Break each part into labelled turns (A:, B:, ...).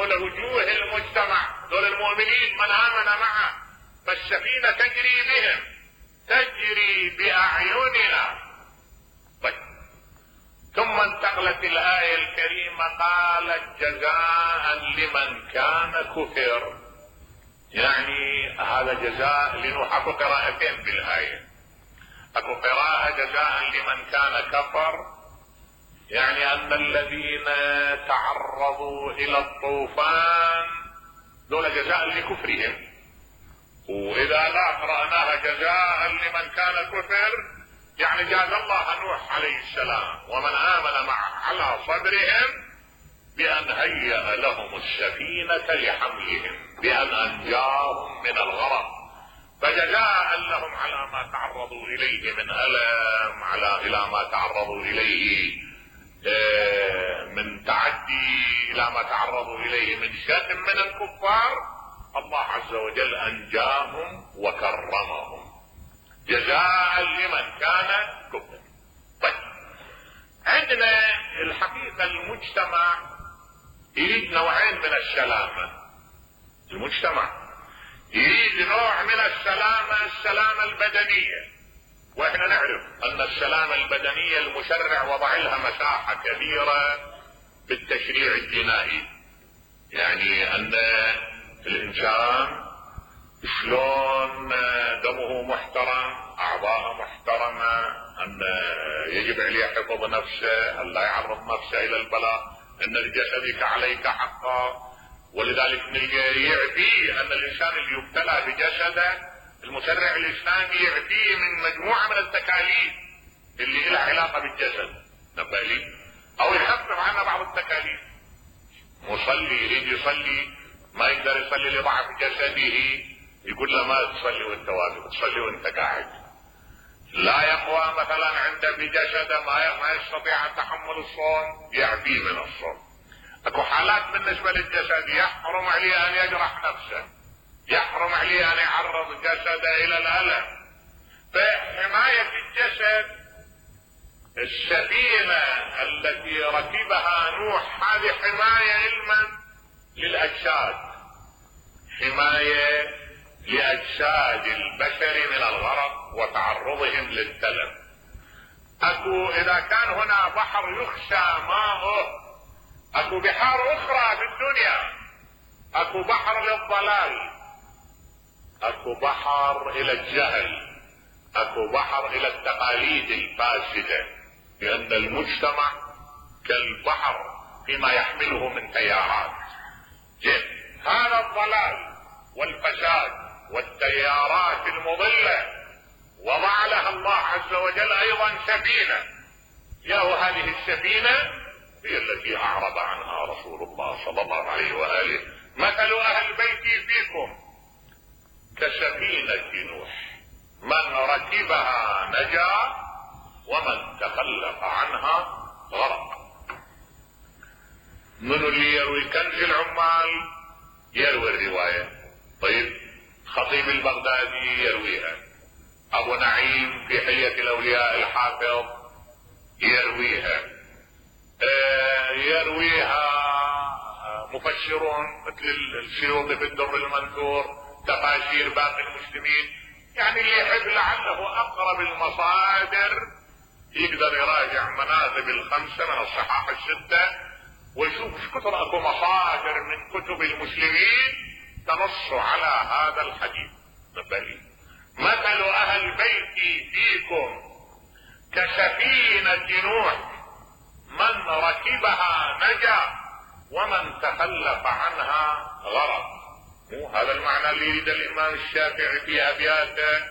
A: دول وجوه المجتمع، دول المؤمنين من آمن معه، فالسفينة تجري بهم، تجري بأعيننا. طيب، ثم انتقلت الآية الكريمة قالت جزاء لمن كان كفر. يعني هذا جزاء لنوح. اكو قراءتين بالآية، اكو قراءة جزاء لمن كان كفر، يعني ان الذين تعرضوا الى الطوفان دول جزاء لكفرهم، واذا لا قرأناها جزاء لمن كان كفر يعني جاز الله نوح عليه السلام ومن آمن معه على صدرهم بأن هيأ لهم السفينة لحملهم، بأن أنجاهم من الغرق، فجزاء لهم على ما تعرضوا إليه من ألم، إلى ما تعرضوا إليه من تعدي، إلى ما تعرضوا إليه من شتم من الكفار، الله عز وجل أنجاهم وكرمهم، جزاء لمن كان كفر. طيب، عندنا الحقيقة المجتمع يريد نوعين من السلامة. المجتمع يريد نوع من السلامة، السلامة البدنية، واحنا نعرف ان السلامة البدنية المشرع وضع لها مساحة كبيرة بالتشريع الجنائي، يعني ان الانسان شلون دمه محترم، اعضاءه محترمة، ان يجب عليه حفظ نفسه، ان لا يعرض نفسه الى البلاء، ان لجسدك عليك حقا. ولذلك يعفيه ان الانسان اللي يبتلى بجسده المشرع الاسلامي يعفيه من مجموعة من التكاليف اللي لها علاقة بالجسد، نبالي او يخفف عنها بعض التكاليف. مصلي يريد يصلي ما يقدر يصلي لضعف جسده، يقول له ما تصلي وانت واقف، تصلي وانت قاعد. لا يقوى مثلا عنده في جسده ما يستطيع ان تحمل الصوم، يعفيه من الصوم. اكو حالات بالنسبة للجسد يحرم عليه ان يجرح نفسه، يحرم عليه ان يعرض جسده الى الالم. فحماية الجسد، السفينة التي ركبها نوح هذه حماية علما للاجساد، حماية لأجساد البشر من الغرق وتعرضهم للتلف. اكو اذا كان هنا بحر يخشى ماؤه، اكو بحار اخرى في الدنيا، اكو بحر للضلال، اكو بحر الى الجهل، اكو بحر الى التقاليد الفاسدة، لان المجتمع كالبحر فيما يحمله من تيارات. هذا الضلال والفساد والتيارات المضلة وضع لها الله عز وجل ايضا سفينة، هذه السفينة هي التي اعرض عنها رسول الله صلى الله عليه وآله. مثل اهل بيتي فيكم كسفينة نوح، من ركبها نجا ومن تخلف عنها غرق. من اللي يروي كنز العمال يروي الرواية. طيب، خطيب البغدادي يرويها، ابو نعيم في حلية الاولياء الحافظ يرويها، يرويها مفسرون مثل السيوطي في الدر المنثور، تفاسير باقي المسلمين. يعني اللي يحب لعله اقرب المصادر يقدر يراجع مناقب الخمسة من الصحاح الستة ويشوف ايش كثر اكو مصادر من كتب المسلمين تنص على هذا الحديث. نبالي مثل اهل بيتي فيكم كسفينة نوح، من ركبها نجا ومن تخلف عنها غرق. مو هذا المعنى اللي يريد الامام الشافعي في ابياته،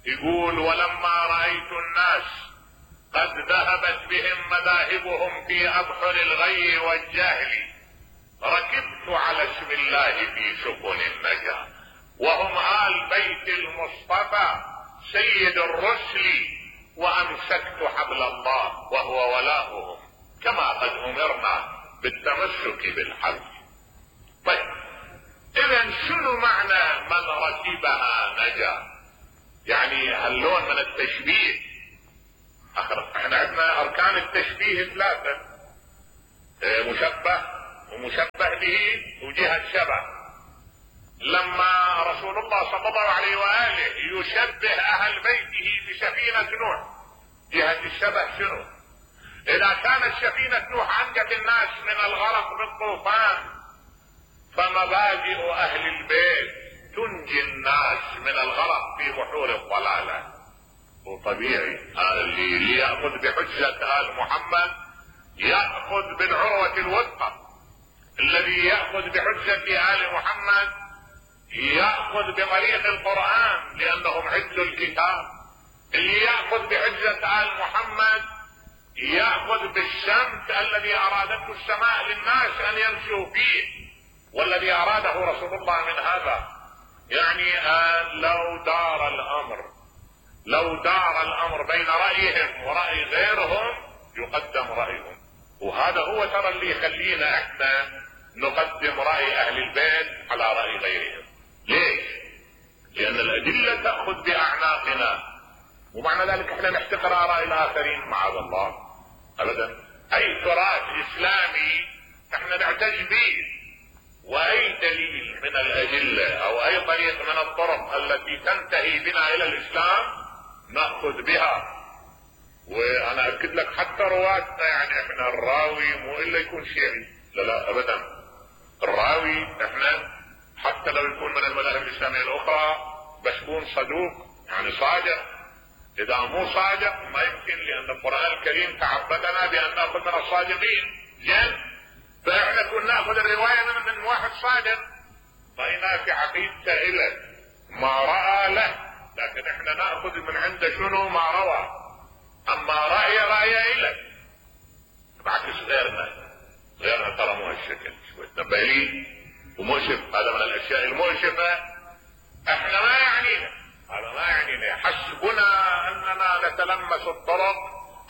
A: يقول ولما رأيت الناس قد ذهبت بهم مذاهبهم في ابحر الغي والجهل، ركبت على اسم الله في سفن النجاة، وهم آل بيت المصطفى سيد الرسل، وامسكت حبل الله وهو ولاؤهم، كما قد امرنا بالتمسك بالحبل. طيب، اذا شنو معنى من ركبها نجا؟ يعني هاللون من التشبيه، احنا عندنا اركان التشبيه ثلاثة: مشبه، ومشبه به وجهة شبه. لما رسول الله صلى الله عليه وآله يشبه أهل بيته بسفينة نوح، جهة الشبه شنو؟ إذا كانت سفينة نوح أنجت الناس من الغرق بالطوفان، فمبادئ أهل البيت تنجي الناس من الغرق في بحور الضلالة. وطبيعي اللي يأخذ بحجة آل محمد يأخذ بالعروة الوثقى، الذي يأخذ بحجة آل محمد يأخذ بطريق القرآن لأنهم عز الكتاب، اللي يأخذ بحجة آل محمد يأخذ بالشمس الذي أرادته السماء للناس أن يمشوا فيه، والذي أراده رسول الله من هذا. يعني لو دار الأمر بين رأيهم ورأي غيرهم يقدم رأيهم، وهذا هو ترى اللي يخلينا احنا نقدم رأي أهل البيت على رأي غيرهم. ليش؟ لأن الأدلة تأخذ بأعناقنا، ومعنى ذلك احنا نحتقر آراء الآخرين معاذ الله أبدا. أي تراث إسلامي احنا نعتز به، وأي دليل من الأدلة أو أي طريق من الطرق التي تنتهي بنا إلى الإسلام نأخذ بها. وأنا أكد لك حتى رواتنا، يعني احنا الراوي مو إلا يكون شيعي، لا أبدا. الراوي احنا حتى لو يكون من المذاهب الإسلامية الأخرى بس يكون صدوق، يعني صادق. إذا مو صادق ما يمكن، لأن القرآن الكريم تعبدنا بأن نأخذ من الصادقين. فاحنا كنا ناخذ الرواية من واحد صادق ضينا في عقيدته إله ما رأى له، لكن احنا نأخذ من عنده شنو ما روى. اما رأي إله بعكس غيرنا ترى مو هالشكل، شوية نبالي ومؤسف. هذا من الاشياء المؤسفة. احنا ما يعنينا هذا، ما يعنينا. حسبنا اننا نتلمس الطرق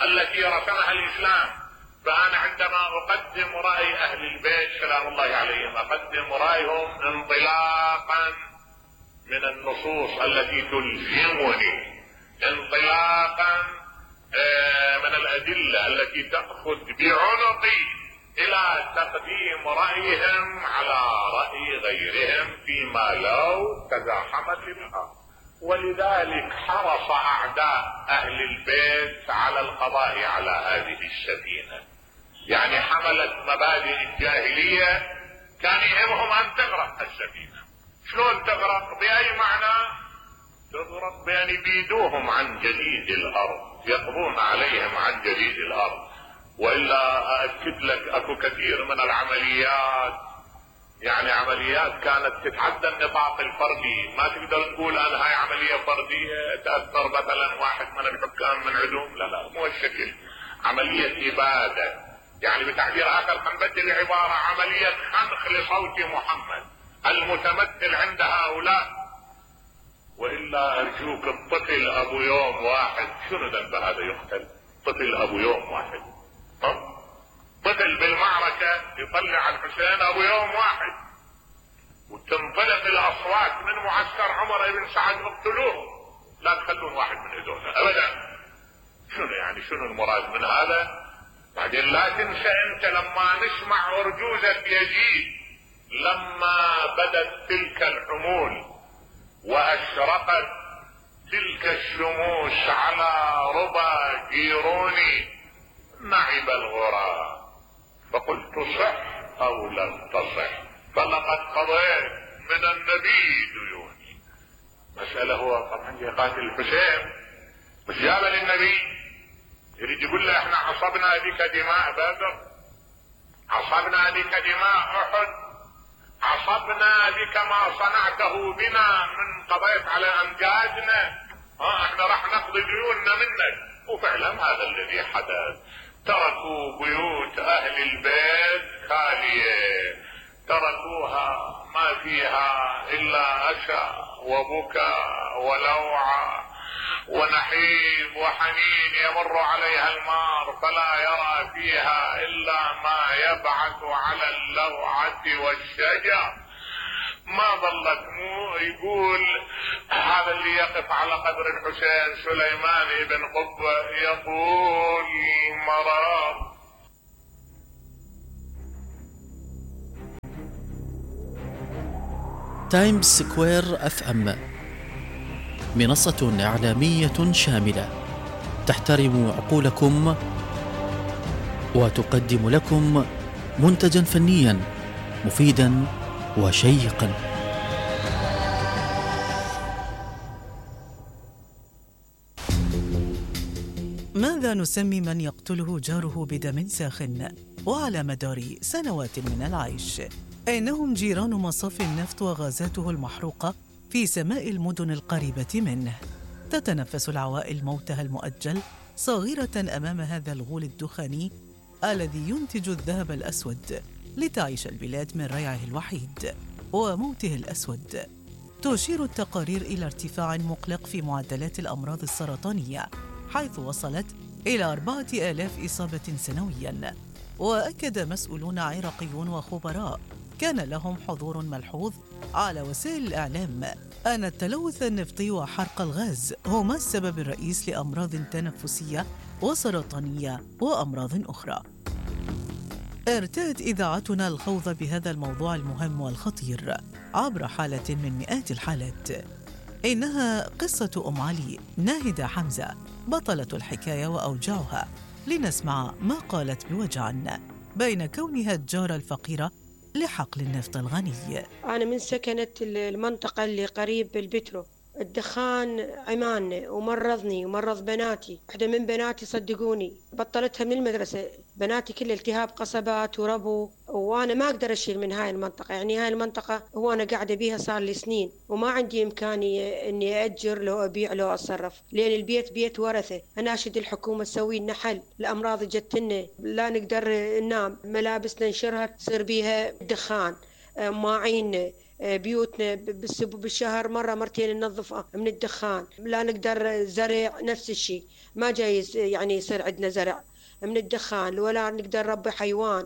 A: التي رسمها الاسلام. فانا عندما اقدم رأي اهل البيت سلام الله عليهم اقدم رأيهم انطلاقا من النصوص التي تلزمني، انطلاقا من الادلة التي تأخذ بعنقي الى تقديم رأيهم على رأي غيرهم فيما لو تزاحمت الامر. ولذلك حرص اعداء اهل البيت على القضاء على هذه السفينة. يعني حملت مبادئ الجاهلية، كان يهمهم ان تغرق السفينة. شلون تغرق؟ بأي معنى تغرق؟ بأن يبيدوهم عن جديد الارض، يقضون عليهم عن جديد الارض. والا اكد لك اكو كثير من العمليات، يعني عمليات كانت تتعدى النطاق الفردي. ما تقدر تقول انا هاي عملية فردية تأثر مثلا واحد من الحكام من عدوم، لا مو الشكل. عملية ابادة، يعني بتعبير اخر حنبدل العبارة عملية خنق لصوت محمد المتمثل عند هؤلاء. والا ارجوك الطفل ابو يوم واحد شنو ذنب هذا يقتل؟ طفل ابو يوم واحد، طفل بالمعركة يطلع الحسين ابو يوم واحد، وتنطلق الاصوات من معسكر عمر بن سعد اقتلوه، لا تخلون واحد من هذول ابدا. شنو يعني شنو المراد من هذا؟ بعدين لا تنسى انت لما نسمع ارجوزة يزيد لما بدت تلك الحمول واشرقت تلك الشموس على ربى جيروني نعب الغراب فقلت صح او لم تصح فلقد قضيت من النبي ديوني. مسألة هو طبعا يقاتل الحسين مش جابه للنبي، يريد يقول له احنا عصبنا بك دماء بدر، عصبنا بك دماء احد، عصبنا بك ما صنعته بنا من قضيت على امجادنا، احنا راح نقضي ديوننا منك. وفعلا هذا الذي حدث. تركوا بيوت اهل البيت خالية، تركوها ما فيها الا اسى وبكاء ولوعة ونحيب وحنين يمر عليها المار فلا يرى فيها الا ما يبعث على اللوعة والشجر. ما ظلت مو يقول هذا اللي يقف على قبر الحسين سليمان بن قبة يقول مرار
B: تايمز سكوير اف ام، منصة إعلامية شاملة تحترم عقولكم وتقدم لكم منتجا فنيا مفيدا وشيقا.
C: ماذا نسمي من يقتله جاره بدم ساخن وعلى مدار سنوات من العيش؟ إنهم جيران مصاف النفط وغازاته المحروقة في سماء المدن القريبة منه. تتنفس العوائل موتها المؤجل صاغرة أمام هذا الغول الدخاني الذي ينتج الذهب الأسود لتعيش البلاد من ريعه الوحيد وموته الأسود. تشير التقارير إلى ارتفاع مقلق في معدلات الأمراض السرطانية، حيث وصلت إلى 4000 إصابة سنوياً. وأكد مسؤولون عراقيون وخبراء كان لهم حضور ملحوظ على وسائل الإعلام أن التلوث النفطي وحرق الغاز هما السبب الرئيس لأمراض تنفسية وسرطانية وأمراض أخرى. ارتأت إذاعتنا الخوض بهذا الموضوع المهم والخطير عبر حالة من مئات الحالات. إنها قصة أم علي ناهدة حمزة بطلة الحكاية وأوجاعها، لنسمع ما قالت بوجع بين كونها الجارة الفقيرة لحقل النفط الغني.
D: أنا من سكنت المنطقة اللي قريب بالبترو. الدخان عماني ومرضني ومرض بناتي. واحدة من بناتي صدقوني بطلتها من المدرسة. بناتي كل التهاب قصبات وربو، وأنا ما أقدر أشيل من هاي المنطقة. يعني هاي المنطقة هو أنا قاعدة بيها صار لي سنين، وما عندي إمكانية إني أأجر لو أبيع لو أتصرف، لأن البيت بيت ورثة. أناشد الحكومة تسوي لنا حل. الأمراض جتنا لا نقدر ننام، ملابسنا ننشرها تصير بيها دخان، ماعين بيوتنا بالشهر مرة مرتين ننظفها من الدخان. لا نقدر زرع نفس الشيء، ما جايز يعني يصير عندنا زرع من الدخان، ولا نقدر ربي حيوان.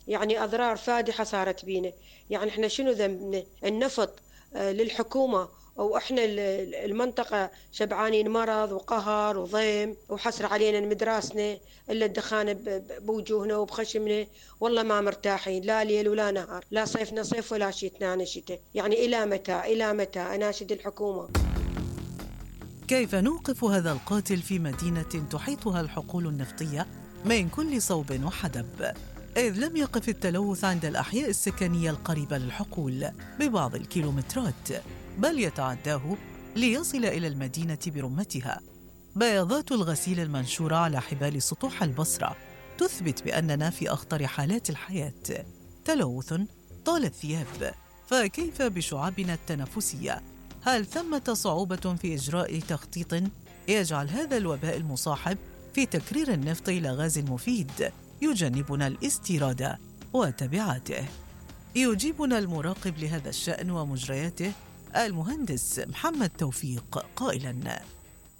D: يعني أضرار فادحة صارت بينا. يعني إحنا شنو ذنبنا؟ النفط للحكومة، وإحنا المنطقة شبعانين مرض وقهر وضيم وحسر علينا مدراسنا، إلا الدخان بوجوهنا وبخشمنا. والله ما مرتاحين، لا ليل ولا نهار، لا صيفنا صيف ولا شتنا شتاء. يعني إلى متى إلى متى؟ أناشد الحكومة.
C: كيف نوقف هذا القاتل في مدينة تحيطها الحقول النفطية من كل صوب وحدب؟ إذ لم يقف التلوث عند الأحياء السكنية القريبة للحقول ببعض الكيلومترات، بل يتعداه ليصل إلى المدينة برمتها. بياضات الغسيل المنشورة على حبال سطوح البصرة تثبت بأننا في أخطر حالات الحياة. تلوث طال الثياب، فكيف بشعابنا التنفسية؟ هل ثمة صعوبة في إجراء تخطيط يجعل هذا الوباء المصاحب في تكرير النفط إلى غاز مفيد يجنبنا الاستيراد وتبعاته؟ يجيبنا المراقب لهذا الشأن ومجرياته المهندس محمد توفيق قائلاً: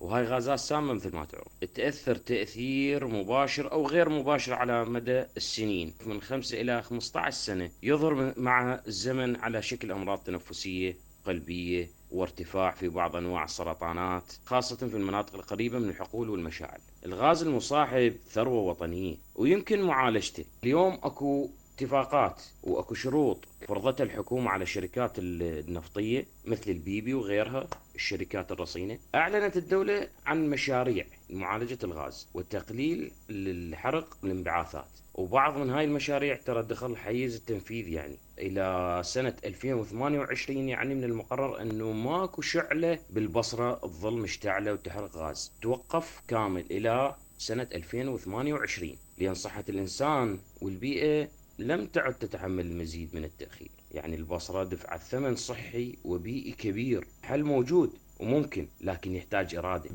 E: وهاي غازات سامة مثل ما تعرف، تأثر تأثير مباشر أو غير مباشر على مدى السنين، من 5 إلى 15 سنة، يظهر مع الزمن على شكل أمراض تنفسية قلبية وارتفاع في بعض أنواع السرطانات، خاصة في المناطق القريبة من الحقول والمشاعل. الغاز المصاحب ثروة وطنية ويمكن معالجته. اليوم أكو اتفاقات وأكو شروط فرضتها الحكومة على الشركات النفطية مثل البيبي وغيرها الشركات الرصينة. أعلنت الدولة عن مشاريع لمعالجة الغاز وتقليل الحرق والانبعاثات، وبعض من هاي المشاريع ترى دخل حيز التنفيذ يعني إلى سنة 2028. يعني من المقرر أنه ماكو شعلة بالبصرة تظل مشتعلة وتحرق غاز، توقف كامل إلى سنة 2028، لأن صحة الإنسان والبيئة لم تعد تتحمل المزيد من التأخير. يعني البصرة دفعت ثمن صحي وبيئي كبير. حل موجود وممكن، لكن يحتاج إرادة.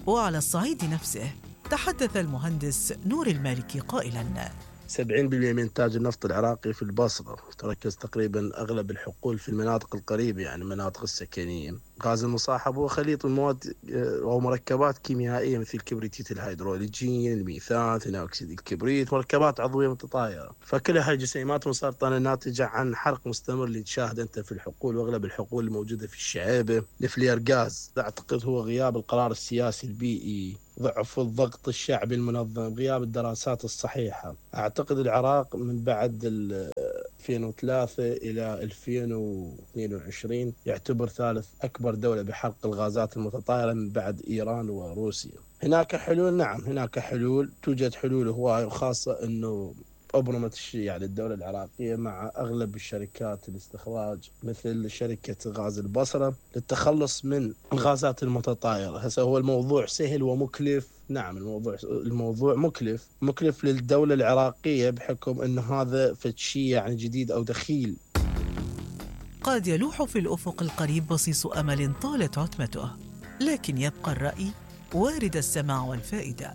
C: وعلى الصعيد نفسه تحدث المهندس نور المالكي قائلاً:
F: 70% من إنتاج النفط العراقي في البصرة، تركز تقريبا أغلب الحقول في المناطق القريبة، يعني المناطق السكنية. غاز المصاحب هو خليط من مواد أو مركبات كيميائية مثل كبريتيت الهيدروجين، الميثان، ثاني أكسيد الكبريت، مركبات عضوية متطايرة. فكلها جسيمات مسرطنة ناتجة عن حرق مستمر اللي تشاهد أنت في الحقول، وأغلب الحقول الموجودة في الشعيبة. الفلير غاز أعتقد هو غياب القرار السياسي البيئي، ضعف الضغط الشعبي المنظم، غياب الدراسات الصحيحة. أعتقد العراق من بعد 2003 إلى 2022 يعتبر ثالث أكبر دولة بحرق الغازات المتطايرة من بعد إيران وروسيا. هناك حلول، نعم هناك حلول، توجد حلول هواية، وخاصة أنه أبرمت الشيء يعني الدولة العراقية مع أغلب الشركات الاستخراج مثل شركة غاز البصرة للتخلص من الغازات المتطايرة. هسه هو الموضوع سهل ومكلف، نعم الموضوع مكلف للدولة العراقية بحكم أنه هذا شيء يعني جديد أو دخيل.
C: قد يلوح في الأفق القريب بصيص أمل طالت عتمته، لكن يبقى الرأي وارد السماع والفائدة.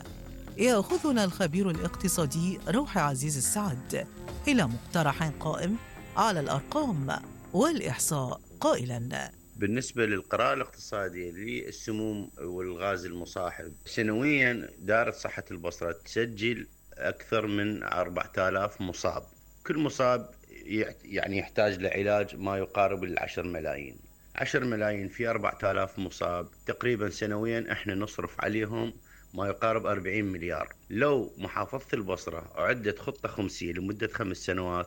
C: يأخذنا الخبير الاقتصادي روحي عزيز السعد إلى مقترح قائم على الأرقام والإحصاء قائلاً:
G: بالنسبة للقراءة الاقتصادية للسموم والغاز المصاحب، سنوياً دائرة صحة البصرة تسجل أكثر من 4000 مصاب. كل مصاب يعني يحتاج لعلاج ما يقارب 10 ملايين. 10 ملايين في 4000 مصاب، تقريباً سنوياً احنا نصرف عليهم ما يقارب 40 مليار. لو محافظة البصرة أعدت خطة خمسية لمدة 5 سنوات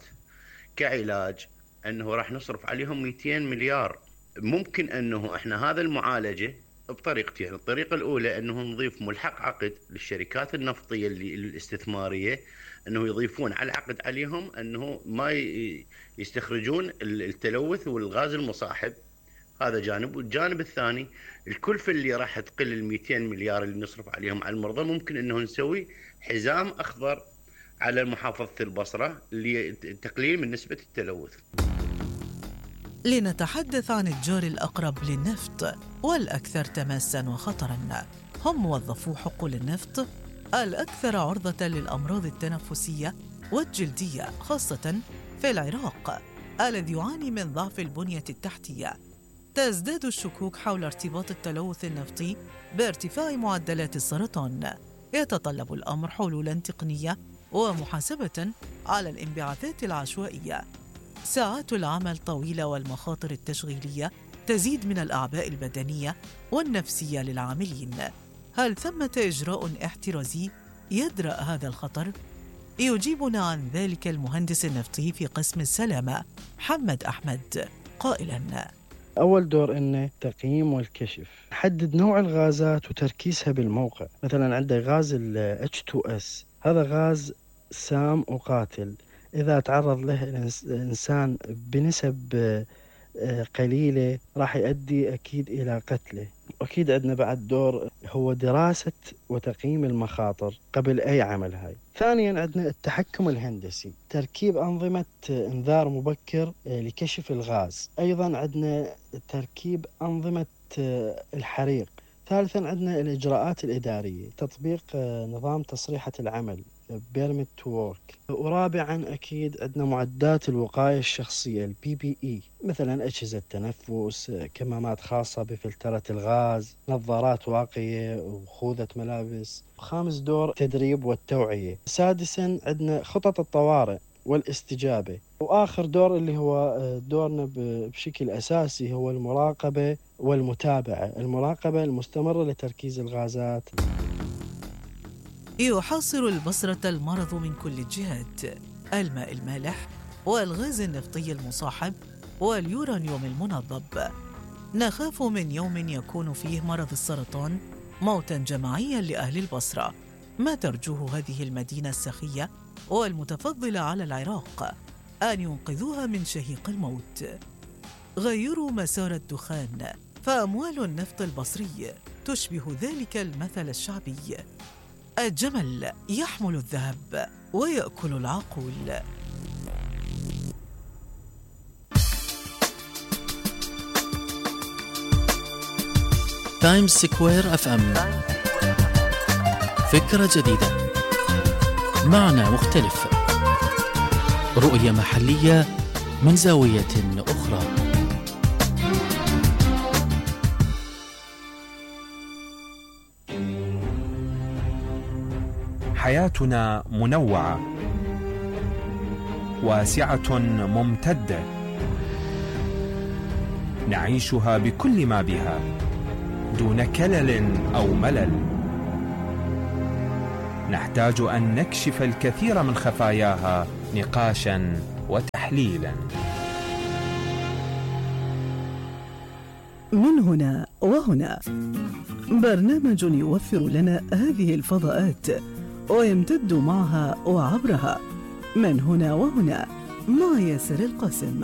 G: كعلاج، أنه راح نصرف عليهم 200 مليار. ممكن أنه إحنا هذا المعالجة بطريقتين. الطريقة الأولى أنه نضيف ملحق عقد للشركات النفطية الاستثمارية، أنه يضيفون على العقد عليهم أنه ما يستخرجون التلوث والغاز المصاحب. هذا جانب. والجانب الثاني الكلفة اللي راح تقل 200 مليار اللي نصرف عليهم على المرضى، ممكن أنه نسوي حزام أخضر على محافظة البصرة لتقليل من نسبة التلوث.
C: لنتحدث عن الجار الأقرب للنفط والأكثر تماساً وخطراً، هم موظفو حقول النفط الأكثر عرضة للأمراض التنفسية والجلدية، خاصة في العراق الذي يعاني من ضعف البنية التحتية. تزداد الشكوك حول ارتباط التلوث النفطي بارتفاع معدلات السرطان. يتطلب الأمر حلولاً تقنية ومحاسبة على الانبعاثات العشوائية. ساعات العمل طويلة والمخاطر التشغيلية تزيد من الأعباء البدنية والنفسية للعاملين. هل ثمة إجراء احترازي يدرأ هذا الخطر؟ يجيبنا عن ذلك المهندس النفطي في قسم السلامة محمد أحمد قائلاً:
H: أول دور إنه تقييم والكشف، حدد نوع الغازات وتركيزها بالموقع. مثلاً عندك غاز ال H2S، هذا غاز سام وقاتل، إذا تعرض له الإنسان بنسب قليلة راح يؤدي أكيد إلى قتله. أكيد عندنا بعد دور هو دراسة وتقييم المخاطر قبل أي عمل. هاي ثانياً عندنا التحكم الهندسي، تركيب أنظمة إنذار مبكر لكشف الغاز. أيضاً عندنا تركيب أنظمة الحريق. ثالثاً عندنا الإجراءات الإدارية، تطبيق نظام تصريحة العمل Permit to Work. ورابعاً أكيد عندنا معدات الوقاية الشخصية PPE، مثلاً أجهزة تنفس، كمامات خاصة بفلترة الغاز، نظارات واقية وخوذة ملابس. خامس دور تدريب والتوعية. سادساً عندنا خطط الطوارئ والاستجابة. وآخر دور اللي هو دورنا بشكل أساسي هو المراقبة والمتابعة، المراقبة المستمرة لتركيز الغازات.
C: يحاصر البصرة المرض من كل الجهات: الماء المالح والغاز النفطي المصاحب واليورانيوم المنضب. نخاف من يوم يكون فيه مرض السرطان موتاً جماعياً لأهل البصرة. ما ترجوه هذه المدينة السخية والمتفضلة على العراق أن ينقذوها من شهيق الموت. غيروا مسار الدخان، فأموال النفط البصري تشبه ذلك المثل الشعبي: الجمل يحمل الذهب ويأكل العقول.
B: تايمز سكوير FM، فكرة جديدة، معنى مختلف، رؤية محلية من زاوية أخرى.
I: حياتنا منوعة واسعة ممتدة، نعيشها بكل ما بها دون كلل أو ملل. نحتاج أن نكشف الكثير من خفاياها نقاشا وتحليلا.
C: من هنا وهنا، برنامج يوفر لنا هذه الفضاءات ويمتد معها وعبرها. من هنا وهنا مع ياسر القاسم.